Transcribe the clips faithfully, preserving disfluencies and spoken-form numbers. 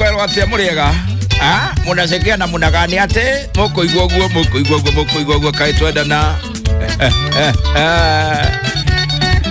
Kwero atia muriega. Ah, munacekia na munagani ati mukuigua guo mukuigua guo mukuigua guo kai twendana. Eh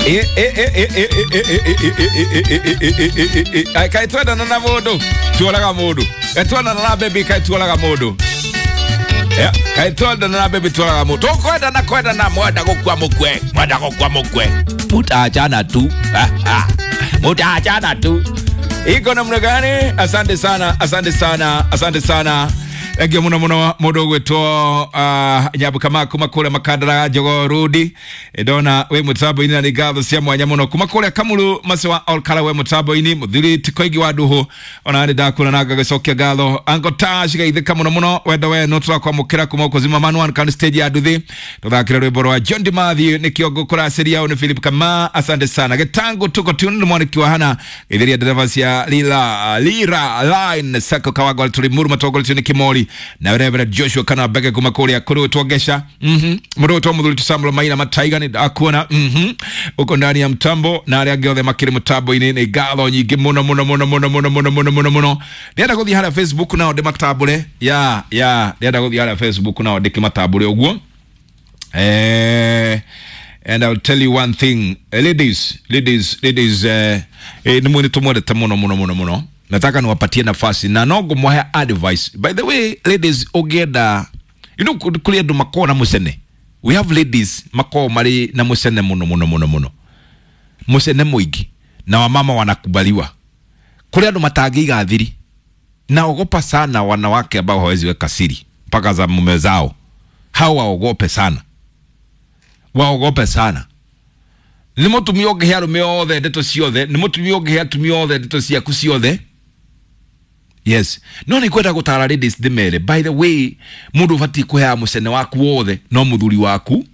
eh eh eh eh eh eh eh eh eh kai twendana na mundu tuoraga mundu. Twendana na baby kai tuoraga mundu. Yeah, kai twendana na baby tuoraga mundu. Tukwendana kwendana mwenda gukua mukwe, mwenda gukua mukwe. Mutaachana tu. Mutaachana tu. Iko namna gani? Asante sana, asante sana, asante sana. Thank muno muno mundu gwitwo uh, nyabu kama kuma kule makandara jogo rudi ndona we mutambo-ini na ngatho cia mwanya muno kuma kuria kamuru maciwa olkara we mutambo-ini muthiri tikoigi wa nduhu ona ni ndakura na ngagicokia ngatho ango tash gaithika muno muno wendo we no turakwamukira kuma kuzima manuan kan stage ya nduthi tuthakira rwimbo rwa John Dimathi ni kiongo kuraciria ni Philip Kama asante sana gitango tuko tune mwaniki wa hana githiria dereva cia lila lira line sako kawagwa tulimuru matogolitio ni kimori na Reverend Joshua kana bege kuma kuria kuru tuogesha mhm muru to muthuri Samuel Maina mataiga ni akuona mhm uko ndani ya mtambo na aria angi othe makiri mutambo-ini ni ngatho nyingi muno muno muno muno muno muno muno muno muno ndienda guthii haria Facebook nao ndimatambure ya ya ndienda guthii haria Facebook nao ndikimatambure uguo eh and I'll tell you one thing, ladies ladies ladies eh eh ni mwini tumwendete muno muno muno muno. Nataka niwapatie nafasi na no ngumuhe advice. By the way, ladies ogenda you know kuri andu makoo na mucene. We have ladies makoo mari na mucene muno muno muno muno. Mucene muingi na wamama wanakubaliwa. Kuri andu matangiiga thiri. Na ogopa sana wanawake ambao hawezi weka siri mpaka za mume zao. Hao waogope sana. Waogope sana. Ni mutumia ũngĩhe arũme othe ndeto ciothe, ni mutumia ũngĩhe atumia othe ndeto ciaku ciothe. Yes. No ni kwenda gutara ladies ndimere. By the way, mundu ubati kuhea mucene waku wothe no muthuri waku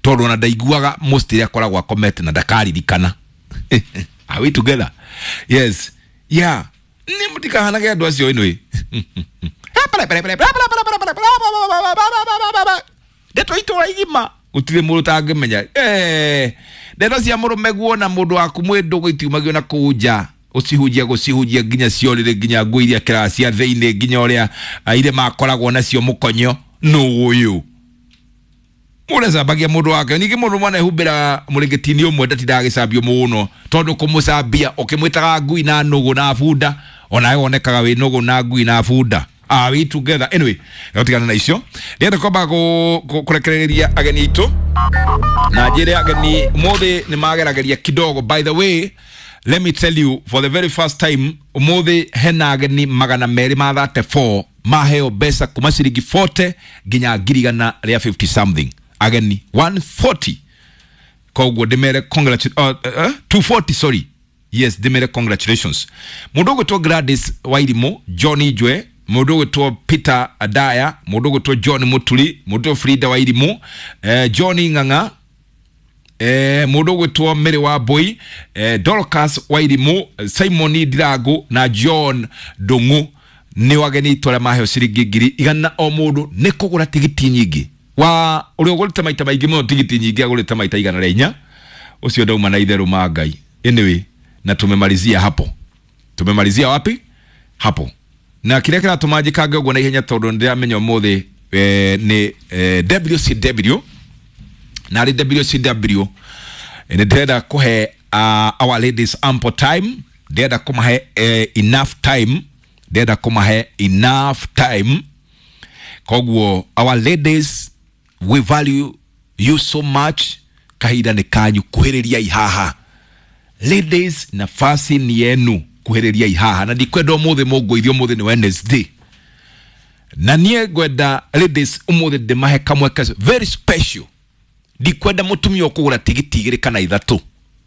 tondu ona ndaiguaga most iria akoragwo akomete na ndakaririkana. Are we together? Yes. Yeah. Ni mutikahanage andu acio anyway. Ndeto itura igima gutire mundu tangimenya. Eh, ndeto cia murume guona mundu waku mwi ndugu itiumagio na kuu nja ucihunjia gucihunjia nginya ciorire nginya nguo iria kĩraa cia thĩinĩ nginya ũrĩa ire makoragwo nacio mũkonyo nũ ũyũ mũrecambagia mũndũ wake ningĩ mũndũ mwana ehumbĩra mũrĩngĩti-inĩ ũmwe ndatindaga agĩcambio mũno tondũ kũmũcambia ũkĩmwĩtaga ngui na nũgũ na bunda onawe wonekaga wĩ nũgũ na ngui na bunda. Are we together? Anyway, gatigana na icio ndĩrenda kwamba kũrekereria ageni aitũ na njĩre ageni ũmũthĩ nĩ magerageria kidogo. By the way, let me tell you, for the very first time ũmũthĩ hena ageni magana merĩ ma thirty-four maheo mbeca kuma ciringi forty nginya ngiri igana rĩa fifty something ageni one forty koguo ndĩmere congratulations uh, uh, two forty sorry yes ndĩmere congratulations mũndũ ũgwĩtwo Gladys Wairimu, John Ijwe, mũndũ ũgwĩtwo Peter Adaya, mũndũ ũgwĩtwo John Muturi, mũndũ Frida Wairimu, eh, John Ng'ang'a, eh, mũndũ ũgwĩtwo Mary Wambui, eh, Dorcas Wairimu, Simon Ndirangu na John Ndung'u nĩ wageni itũ arĩa maheo ciringi ngiri igana o mũndũ nĩ kũgũra tigiti nyingĩ wa ũrĩa ũgũrĩte maita maingĩ mũno tigiti nyingĩ agũrĩte maita igana rĩa inya ũcio ndauma na itherũ ma Ngai. Anyway, na tumemalizia hapo. Tumemalizia wapi? Hapo. Na kĩrĩa kĩratũma njĩkange ũguo na ihenya tondũ nĩndĩramenya ũmũthĩ eh, nĩ eh, W C W na arĩ W C W nĩ ndĩrenda kũhe uh, our ladies ample time, ndĩrenda kũmahe eh, enough time, ndĩrenda kũmahe enough time. Koguo our ladies, we value you so much. Kahinda nĩ kanyu kuhĩrĩria ihaha. Ladies, nafasi ni yenu kuhĩrĩria ihaha na ndikwenda ũmũthĩ mũngũithio ũmũthĩ nĩ Wednesday na niĩ ngwenda ladies ũmũthĩ ndĩmahe kamweke very special. Ndikwenda mũtumia ũkũgũra tigiti igĩrĩ kana ithatũ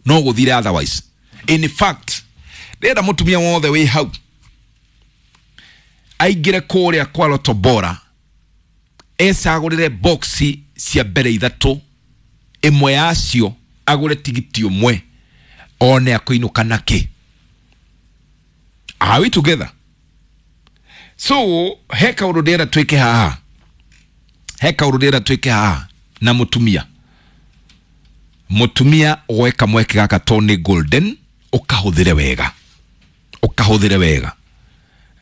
no gũthire otherwise. In fact, ndĩrenda mũtumia wothe wĩ hau aingĩre kũrĩa kwa Lotto Bora ecagũrĩre boxi cia mbere ithatũ ĩmwe yacio agũre tigiti ũmwe one akũinũka nakĩ. Are we together? So he kaũndũ ndĩrenda twĩke haha, he kaũndũ ndĩrenda twĩke haha na mũtumia mũtumia woe kamweke gaka tondũ nĩ golden ũkahũthĩre wega, ũkahũthĩre wega.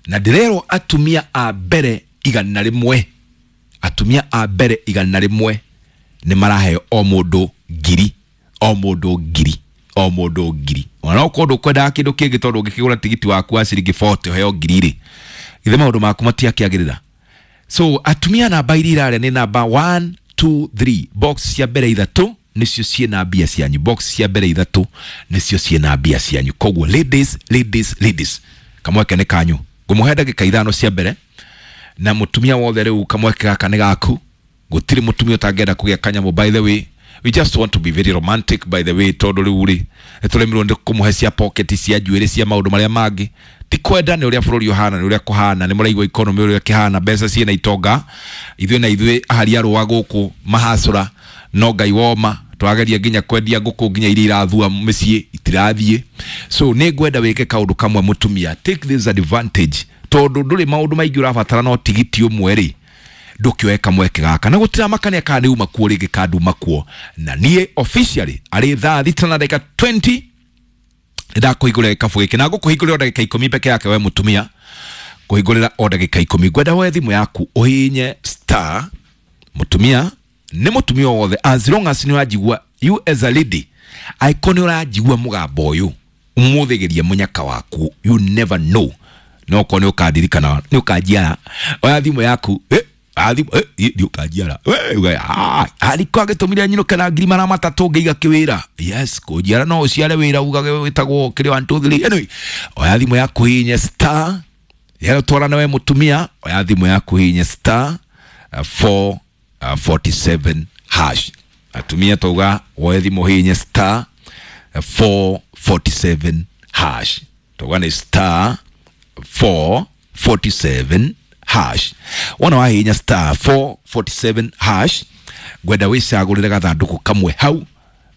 Na ndĩrerwo atumia a mbere igana rĩmwe, atumia a mbere igana rĩmwe nĩ maraheo o mũndũ ngiri, o mũndũ ngiri, o mũndũ ngiri. Ona okorwo ndũkwendaga kĩndũ kĩngĩ tondũ ũngĩkĩgũra tigiti waku wa ciringi mĩrongo ĩna ũheo ngiri rĩ, githĩ maũndũ maku matiakĩagĩrĩra? So atumia namba iria irarĩa nĩ namba one two three. Box cia mbere ithatũ nĩcio ciĩna mbia cianyu. Box cia mbere ithatũ nĩcio ciĩna mbia cianyu. Koguo ladies, ladies, ladies, kamweke nĩ kanyu. Ngũmũhe ndagĩka ithano cia mbere, na mũtumia wothe rĩu kamweke gaka nĩ gaku. Gũtirĩ mũtumia ũtangĩenda kũgĩa kanyamũ. By the way, we just want to be very romantic, by the way, tondũ rĩu rĩ nĩtũremirwo nĩ kũmũhe cia pocket, cia njuĩrĩ, cia maũndũ marĩa mangĩ. Ti kwenda, nĩ ũrĩa bũrũri ũhana, nĩ ũrĩa kũhana, nĩ mũraigua economy ũrĩa ĩkĩhana, mbeca ciĩna itonga, ithuĩ na ithuĩ ahari arũa gũkũ mahacũra, no Ngai woma twageria nginya kwendia ngũkũ nginya iria irathua mĩciĩ itirathiĩ. So nĩ ngwenda wĩke kaũndũ kamwe mũtumia, take this advantage, tondũ ndũrĩ maũndũ maingĩ ũrabatara no tigiti ũmwe rĩ, ndũkĩoe kamweke gaka na gũtiramakania kana nĩ uma kuo rĩngĩ kana nduma kuo. Na niĩ officially arĩ thaa thita na ndagĩka mĩrongo ĩrĩ nĩndakũhingũrĩra gĩkabũ gĩkĩ, na ngũkũhingũrĩra o ndagĩka ikũmi peke yake. We mũtumia, kũhingũrĩra o ndagĩka ikũmi. Ngwenda woe thimũ yaku ũhihinye star. Mũtumia nĩ mũtumia o wothe, as long as nĩ ũranjigua, you as a lady, angĩkorwo nĩ ũranjigua mũgambo ũyũ, ũmũthĩ geria mũnyaka waku. You never know, no korwo nĩ ũkandirikana, nĩ ũkanjiara. Oya thimũ yaku, eh, oya thimũ, eh, nĩ ũkanjiara. Eh, uge, ah, ariko agĩtũmire nyinũke na ngiri magana matatũ ngĩiga kĩwĩra. Yes, kũnjiara no ũciare wĩra ugage wĩtagwo kĩrĩa one two three. Anyway, oya thimũ yaku hihinye star yero twarana. We mũtumia, oya thimũ yaku hihinye star four forty-seven hash. Atumia tauga woe thimũ hihinye star four forty-seven hash. Tauga nĩ star four forty-seven hash. Wona wahihinya star four forty-seven hash, ngwenda wĩcagũrĩre gathandũkũ kamwe hau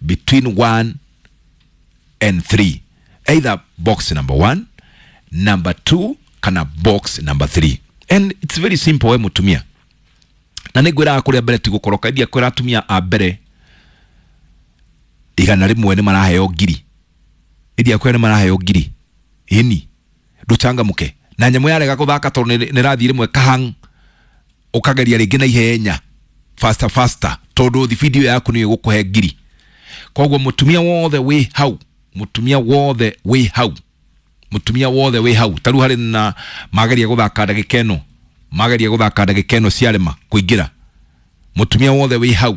between one and three, either box number one, number two kana box number three. And it's very simple, we mũtumia, na nĩ ngwĩraga kũrĩa mbere ti gũkoroka india kwĩra atumia a mbere igana rĩmwe nĩ maraheo ngiri, india kwĩra nĩ maraheo ngiri. Ĩni ndũcangamũke na nyamũ yarega gũthaka tondũ nĩ nĩ ĩrathiĩ rĩmwe kahang, ũkageria rĩngĩ na ihenya, faster faster, tondũ thibindi ĩyo yaku nĩyo ĩgũkũhe ngiri. Koguo mũtumia wothe wĩ hau, mũtumia wothe wĩ hau, mũtumia wothe wĩ hau, ta rĩu harĩ na mageria gũthaka ndagĩka ĩno, mageria gũthaka ndagĩka ĩno ciarema kũingĩra. Mũtumia wothe wĩ hau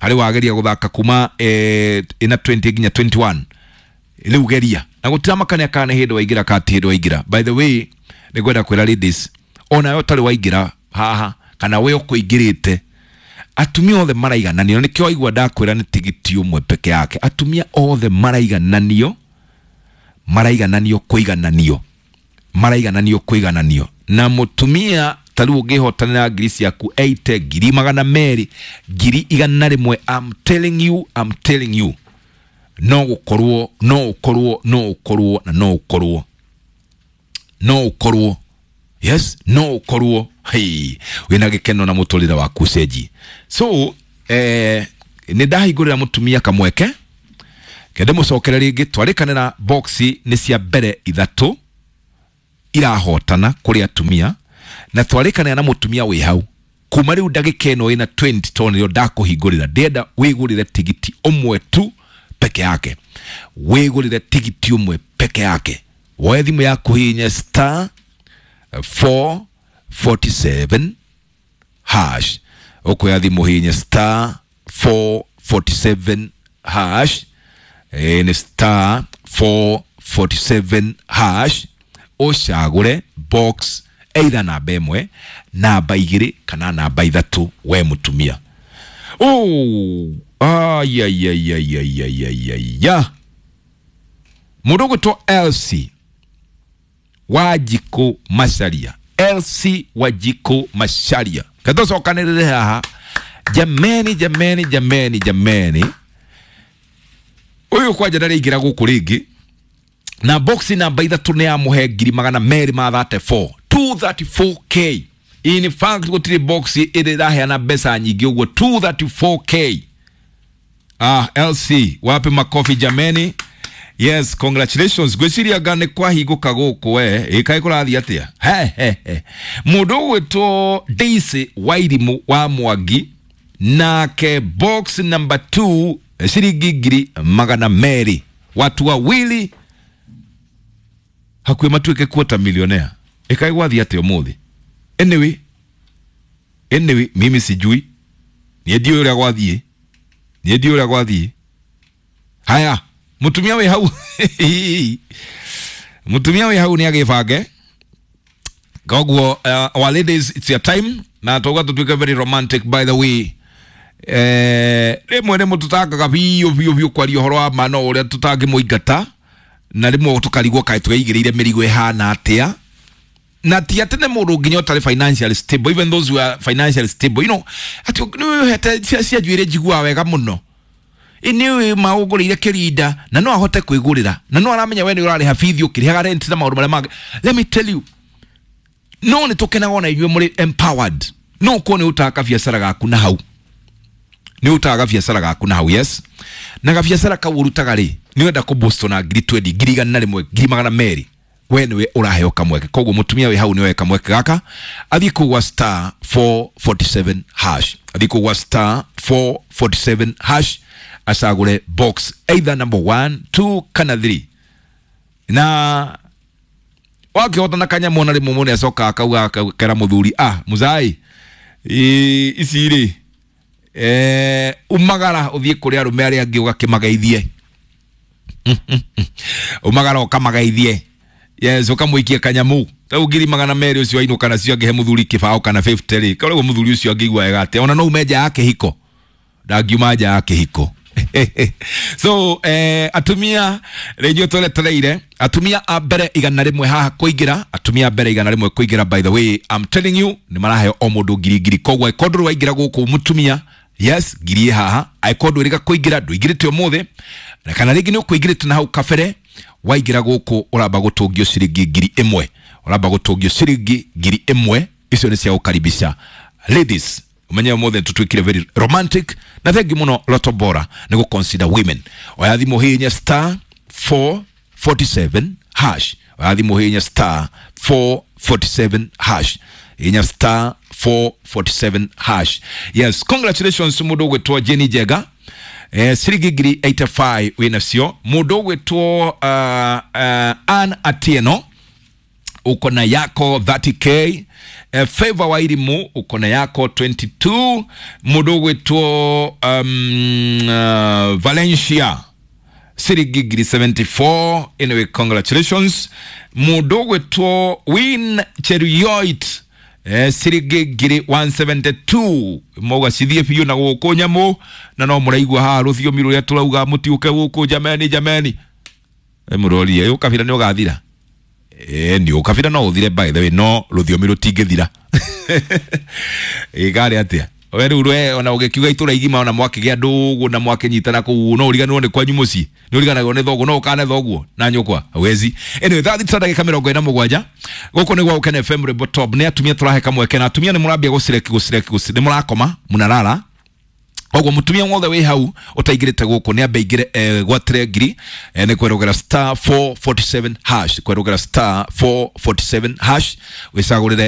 harĩ wageria gũthaka kuma eh, ĩna mĩrongo ĩrĩ nginya mĩrongo ĩrĩ na ĩmwe, rĩu geria na gũtiramakania kana nĩ hĩndĩ waingĩra kana ti hĩndĩ waingĩra. By the way, nĩ ngwenda kwĩra ladies, onawe ũtarĩ waingĩra haha kana we ũkũingĩrĩte, atumia othe maraigananio. Nĩkĩo waigua ndakwĩra nĩ tigiti ũmwe peke yake. Atumia othe maraigananio, maraigananio kũigananio, maraigananio kũigananio. Na mũtumia ta rĩu ũngĩhotanĩra ngiri ciaku eighty, ngiri magana merĩ, ngiri igana rĩmwe, I'm telling you, I'm telling you, no gũkorwo, no ũkorwo, no ũkorwo na no ũkorwo, no ũkorwo, yes, no ũkorwo, hey, wĩna gĩkeno na mũtũrĩre waku cenji. So eh, nĩ ndahingũrĩra mũtumia kamweke kende mũcokere rĩngĩ. Twarĩkanĩra boxi nĩ cia mbere ithatũ irahotana kũrĩ atumia, na twarĩkanĩra na mũtumia wĩ hau kuma rĩu ndagĩka ĩno ĩna mĩrongo ĩrĩ, tondũ nĩrĩo ndakũhingũrĩra. Ndĩrenda wĩgũrĩre tigiti ũmwe tu peke yake, wĩgũrĩre tigiti ũmwe peke yake. Woe thimũ yaku hihinye star four forty-seven hash. Ũkuoya thimũ hihinye star four forty-seven hash. Ĩ nĩ star four forty-seven hash, ũcagũre box either namba ĩmwe, namba igĩrĩ kana namba ithatũ, we mũtumia. Oh, ayayayayayayaya, mũndũ ũgwĩtwo Elsie Wanjikũ Macharia, Elsie Wanjikũ Macharia, ketũcokanĩrĩre haha. Jameni, jameni, jameni, jameni, ũyũ kwanja ndarĩingĩra gũkũ rĩngĩ, na box namba ithatũ nĩ yamũhe ngiri magana merĩ ma mĩrongo ĩtatũ na inya, two thirty-four k. In fact, gũtirĩ box ĩrĩ ĩraheana mbeca nyingĩ ũguo, two thirty-four k. Ah, L C, wapi makofi jameni? Yes, congratulations. Gwĩciria nga nĩ kwahingũka gũkũ we ĩkaĩ kũrathiĩ atĩa? He he he. Mũndũ ũgwĩtwo Daisy Wairimu wa Mwangi nake box number two ciringi ngiri magana merĩ, watu wawili hakuhĩ matuĩke quarter millionaire. Ĩkaĩ gwathiĩ atĩa ũmũthĩ? Anyway, anyway mimi sijui, niĩ ndiũĩ ũrĩa gwathiĩ, niĩ ndiũĩ ũrĩa gwathiĩ. Haya, mutumia wĩ hau mutumia wĩ hau nĩ agĩbange. Koguo uh, our ladies, it's your time, na twauga tũtuĩke very romantic, by the way. Eh, rĩmwe nĩ mũtũtangaga biũ biũ biũ kwaria ũhoro wa ma no ũrĩa tũtangĩmũingata, na rĩmwe tũkarigwo kaĩ tweigĩrĩire mĩrigo ĩhana atĩa, na ti atĩ nĩ mũndũ nginya ũtarĩ financially stable, even those who are financially stable, you know, atĩ nĩ wĩhete cia cia njuĩrĩ njiguaga wega mũno, nĩ maũgũrĩire kĩrinda na no ahote kwĩgũrĩra, na no aramenya we nĩ ũrarĩha bithi ũkĩrĩhaga rent na maũndũ marĩa mangĩ. Let me tell you, no nĩ tũkenaga ona inyuĩ mũrĩ empowered, no ũkorwo nĩ ũtaga kabiacara gaku na hau, nĩ ũtaga gabiacara gaku na hau. Yes, na gabiacara kau ũrutaga rĩ, nĩ ũrenda kũ na ngiri twenty, ngiri igana rĩmwe, ngiri magana merĩ, we nĩwe ũraheo kamweke. Koguo mũtumia wĩ hau nĩwe kamweke gaka, athiĩ kũu gwa star four forty-seven hash, athiĩ kũu gwa star four forty-seven hash, acagũre box either number one, two kana three, na wakĩhota na kanyamũ ona rĩmwe mũndũ acokaga akauga akera mũthuri, ah mũzai, ici rĩ, eh, umagara ũthiĩ kũrĩ arũme arĩa angĩ ũgakĩmageithie, umagara ũkamageithie. Yes, ũkamũikia kanyamu rĩu ngiri magana merĩ ũcio ainũka nacio angĩhe mũthuri kĩbaũ kana fifty rĩ, koragwo mũthuri ũcio angĩigua wega atĩa? Ona no ume nja ya kĩhiko, ndangiuma nja ya kĩhiko. So eh, atumia rĩnjuĩ tweretereire atumia a mbere igana rĩmwe haha kũingĩra, atumia a mbere igana rĩmwe kũingĩra. By the way, I'm telling you, nĩ maraheo o mũndũ ngiri ngiri. Koguo angĩkorwo ndũrĩ waingĩra gũkũ mũtumia, yes, ngiri ĩ haha. Angĩkorwo ndwĩrĩga kũingĩra, ndũingĩrĩte ũmũthĩ na kana rĩngĩ nĩ ũkũingĩrĩte na hau kabere, waingĩra gũkũ ũramba gũtũngio ciringi ngiri ĩmwe, ũramba gũtũngio ciringi ngiri ĩmwe. Icio nĩ cia gũkaribisha ladies. Umenye ũmũthĩ tũtuĩkire very romantic, na thengi mũno Lotto Bora nĩ gũ consider women. Oya thimũ hihinya star four forty-seven hash, oya thimũ hihinya star four forty-seven hash, hihinya star four forty-seven hash. Yes, congratulations mũndũ ũgwĩtwo Jenny Njega, eh, ciringi ngiri eighty-five wĩnacio. Mũndũ ũgwĩtwo uh, uh, Ann Atieno uko na yako thirty K. Eh, Favor Wairimu uko na yako twenty-two. Mũndũ ũgwĩtwo um, uh, Valencia ciringi ngiri seventy-four. Anyway, congratulations. Mũndũ ũgwĩtwo Win Cheruiyot, eh, ciringi ngiri one seventy-two. Mauga cithiĩ biũ na gũkũ nyamũ, na no mũraigua haha rũthiomi rũrĩa tũrauga mũtiũke gũkũ jameni jameni. Eh, mũrorie ũkabira nĩ ũgathira. Eh, nĩ ũkabira no ũthire, by the way, no rũthiomi rũtingĩthira. Ĩkarĩ atĩa? We rĩu we ona ũgĩkiuga itũra igima ona mwakĩgĩa ndũgũ na mwakĩnyitana kũu no ũriganĩrwo nĩ kwanyu mũciĩ, nĩ ũriganagĩrwo nĩ thoguo, no ũkane thoguo na nyũkwa hawezi. Anyway, thaa thita ndagĩka mĩrongo ĩna mũgwanja gũkũ nĩ gwa Gũkena F M Rwĩmbo Top. Nĩ atumia tũrahe kamweke, na atumia nĩ mũrambia gũcireki gũcireki gũcireki, nĩ mũrakoma mũnarara. Koguo mũtumia wothe wĩ hau ũtaingĩrĩte gũkũ nĩ ambe aingĩre, eh, gwatĩre ngiri, eh, nĩ kwerũgera star four forty-seven hash, kwerũgera star four forty-seven hash wĩcagũrĩre.